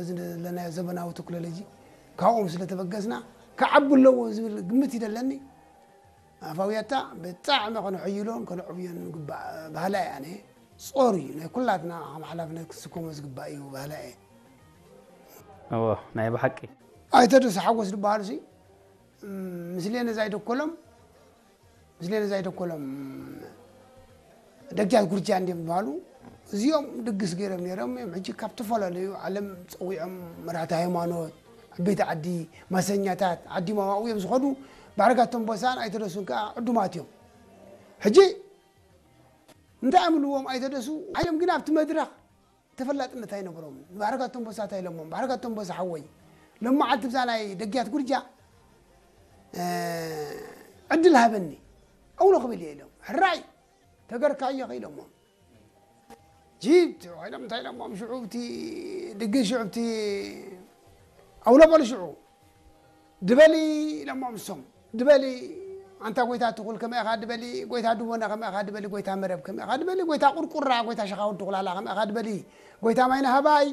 ዘለናዮ ዘበናዊ ቴክኖሎጂ ካብኦም ስለ ተበገስና ክዓቢ ኣለዎ ዝብል ግምት እዩ ዘለኒ። ኣፋውያታ ብጣዕሚ ከነሐይሎን ከነዕብዮን ግባእ ባህላ እየ ኣነ። ጾር እዩ ናይ ኩላትና ከም ሓላፍነት ክስከሞ ዝግባእ እዩ ባህላ እየ። እዎ ናይ ብሓቂ ኣይተደሱ ሓጎስ ዝበሃሉ ሲ ምስሌነ ዛይደኮሎም ምስሌነ ዛይደኮሎም ደጃት ጉርጃ እንዲም ዝበሃሉ እዚኦም ድግስ ገይሮም ነይሮም እዮም። ሕጂ ካብ ዝተፈላለዩ ዓለም ፀዊዖም መራሕቲ ሃይማኖት፣ ዓበይቲ ዓዲ፣ ማሰኛታት ዓዲ ማማኡ እዮም ዝኸዱ። ባዕርጋቶም ቦሳን ኣይተደሱን ከዓ ዕዱማት እዮም። ሕጂ እንታይ ኣምልዎም ኣይተደሱ ሓይሎም ግን ኣብቲ መድረኽ ተፈላጥነት ኣይነበሮም። ባዕርጋቶም ቦሳ እንታይ ኢሎሞም? ባዕርጋቶም ቦሳ ሓወይ ሎም መዓልቲ ብዛ ናይ ደግያት ጉርጃ ዕድል ሃበኒ ኣውሎ ክብል እየ ኢሎም። ሕራይ ተገርካዮ ኢሎሞም። ጂብ ተባሂሎም እንታይ ኢሎሞም? ሽዑ ብቲ ድግስ ሽዑ ብቲ ኣውሎ በሉ ሽዑ ድበሊ ኢሎሞም እሶም። ድበሊ ኣንታ ጎይታ ትኹል ከመ ኢኻ ድበሊ፣ ጎይታ ድቦና ከመ ኢኻ ድበሊ፣ ጎይታ መረብ ከመ ኢኻ ድበሊ፣ ጎይታ ቁርቁራ፣ ጎይታ ሸኻውዲ ቁላላ ከመ ኢኻ ድበሊ፣ ጎይታ ማይ ናህባይ፣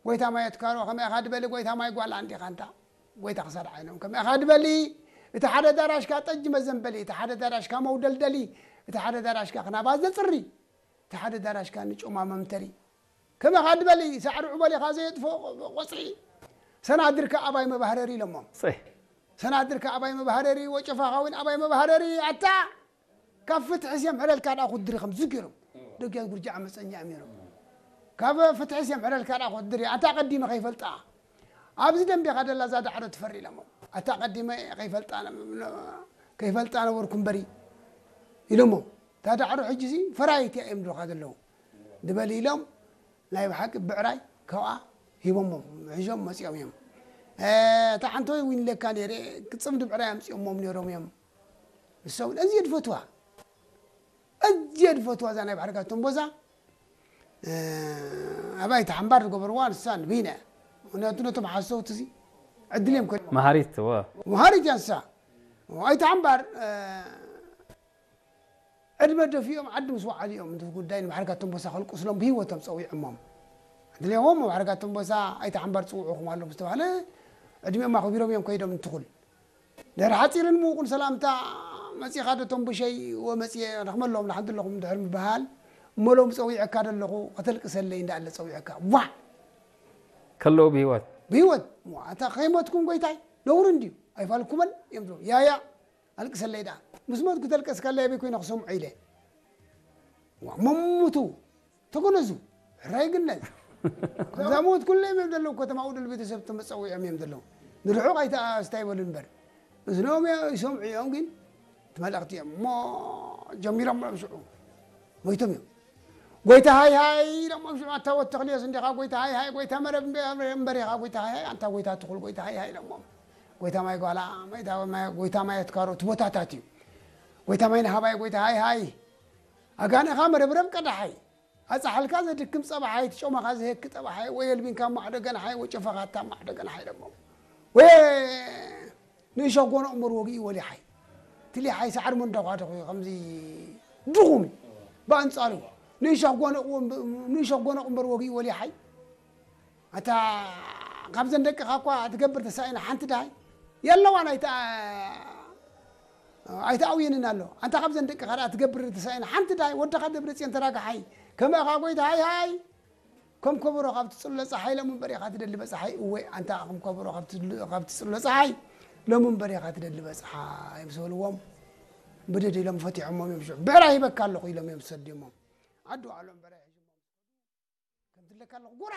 ጎይታ ማይ ኣትካሮ ከመ ኢኻ ድበሊ፣ ጎይታ ማይ ጓላ እንዲኻ ኣንታ ጎይታ ክሳድ ዓይኖም ከመ ኢኻ ድበሊ። እቲ ሓደ ዳራሽካ ጠጅ መዘንበሊ፣ እቲ ሓደ ዳራሽካ መውደልደሊ፣ እቲ ሓደ ዳራሽካ ክናባ ዘጽሪ፣ እቲ ሓደ ዳራሽካ ንጮማ መምተሪ ከመኻ ድበሊ። ሳዕሪ ዑበሊኻ ዘየጥፎ ቆጽሒ ሰናድርካ ኣባይ መባህረሪ ኢሎሞም። ጽህ ሰናድርካ ኣባይ መባህረሪ ወጨፋኻ እውን ኣባይ መባህረሪ ኣታ ካብ ፍትሒ ስዮም ሕረልካ ደኣ ኩድሪ ከም ዝገይሮም ደጊያት ጉርጃ ዓመፀኛ እዮም ነይሮም። ካብ ፍትሒ ስዮም ሕረልካ ደኣ ኩድሪ ኣታ ቀዲመ ከይፈልጣ ኣብዚ ደንቢኻ ደላ እዛ ዳዕሮ ትፈሪ ኢሎሞም። ኣታ ቀዲመ ከይፈልጣ ከይፈልጣ ነበርኩ እምበሪ ኢሎሞም። እታ ዳዕሮ ሕጂ ሲ ፈራይት እያ እዮም ድኻ ዘለዉ ድበሊ ኢሎም ናይ ብሓቂ ብዕራይ ካብኣ ሂቦሞም ሒዞም መፂኦም እዮም። እታ ሓንቶ እውን ኢለካ ነይረ ክፅምዲ ብዕራይ ኣምፂኦሞም ነይሮም እዮም። ንሳ እውን ኣዝየ ድፈትዋ ኣዝየ ድፈትዋ እዛ ናይ ባዕርጋቶም ቦዛ ኣባይቲ ሓምባር ዝገበርዋ ንሳ ንብይነ ምክንያቱ ነቶም ሓሰውቲ እዚ ዕድል እዮም ከ መሃሪት ወ መሃሪት እያ ንሳ ኣይተ ሓምባር ዕድመ ደፊኦም ዓዲ ምስ ወዓሉ እዮም እቲ ጉዳይ ንባሕርጋቶም ቦሳ ከልቅስሎም ብህይወቶም ፀዊዖሞም ድሌዎም ባሕርጋቶም ቦሳ ኣይተ ሓምባር ፅውዑኹም ኣለኹም ዝተባህለ ዕድሜኦም ኣኽቢሮም እዮም ከይዶም እንትኹል ድሕሪ ሓፂርን ምውቁን ሰላምታ መፂኻ ዶ ቶም ብሸይ ወመፅየ ረኽመሎም ንሓንቲ ኣለኹም ድሕር ምበሃል እሞ ሎም ፀዊዐካ ደለኹ ከተልቅሰለይ እንዳኣለ ፀዊዐካ ዋ ከለዉ ብህይወት ብህይወት እታ ከይሞትኩም ጎይታይ ነውሪ እንድዩ ኣይፋልኩመን እዮም ዝብሉ ያያ ኣልቅሰለይ ደኣ ምስ ሞት ክተልቀስ ከለይ ኣበይ ኮይነ ክሰምዖ ኢለ መሙቱ ተጎነዙ ሕራይ ግነዝ እዛ ሞት ኩለ እዮም ዘለዉ ከተማ ውድል ቤተሰብ ተመፀዊዖም እዮም ዘለዉ ንርሑቕ ኣይተኣስታ ይበሉ እምበር እዝኖም ይሰምዑ እዮም ግን እቲ መልእኽቲ እዮም እሞ ጀሚሮም እዮም ሽዑ ሞይቶም እዮም ጎይታ ሃይ ሃይ ኢሎሞም ሽዑ ኣታ ወተኽልዮስ እንዲኻ ጎይታ ሃይ ሃይ ጎይታ መረብ እምበሪኻ ጎይታ ሃይ ሃይ ኣንታ ጎይታ ትኹል ጎይታ ሃይ ሃይ ኢሎሞም ጎይታ ማይ ጓላ ጎይታ ማይ ኣትካሮ እቲ ቦታታት እዩ ጎይታ ማይ ንሃባይ ጎይታ ሃይ ሃይ ኣጋንኻ መረብረብ ቀዳሓይ ኣጻሓልካ ዘድክም ጸባሓይ ትጮማኻ ዝህክ ጠባሓይ ወይ የልቢንካ ማዕዶ ገናሓይ ወይ ጨፈኻታ ማዕዶ ገናሓይ ኢሎሞም ወይ ንእሾ ጎኖ እምበር ወግኢ ወሊሓይ ትሊሓይ ሳዕሪ መንዳኳ ደኹ ከምዚ ድኹም ብኣንጻሩ ንእሾ ጎኖ ንእሾ ጎኖ እምበር ወግኢ ወሊሓይ ኣታ ካብዘን ደቅኻ እኳ ትገብር ተሳኢና ሓንቲ ድሃይ የለዋን ኣይተ ኣይተኣውየንን ኣሎ ኣንታ ካብዘን ደቅኻ ደኣ ትገብር ተሳኢና ሓንቲ ድሃይ ወድኻ ደብረ ጽዮን ተራግሓይ ከመእኻ ጎይታ ሃይ ሃይ ከም ከበሮ ካብ ትጽሎ ጸሓይ ሎም እምበር ኢኻ ትደሊ በጽሓይ እወ ኣንታ ከም ከበሮ ካብ ትጽሎ ጸሓይ ሎም እምበር ኢኻ ትደሊ በጽሓይ ምስ በልዎም ብድድ ኢሎም ፈቲሖሞም እዮም ሽዑ ብዕራይ ሂበካ ኣለኹ ኢሎም እዮም ዝሰድዮሞም ዓዲ ባዕሎም ብዕራይ ሒዞሞም ከምትለካ ኣለኹ ጉራ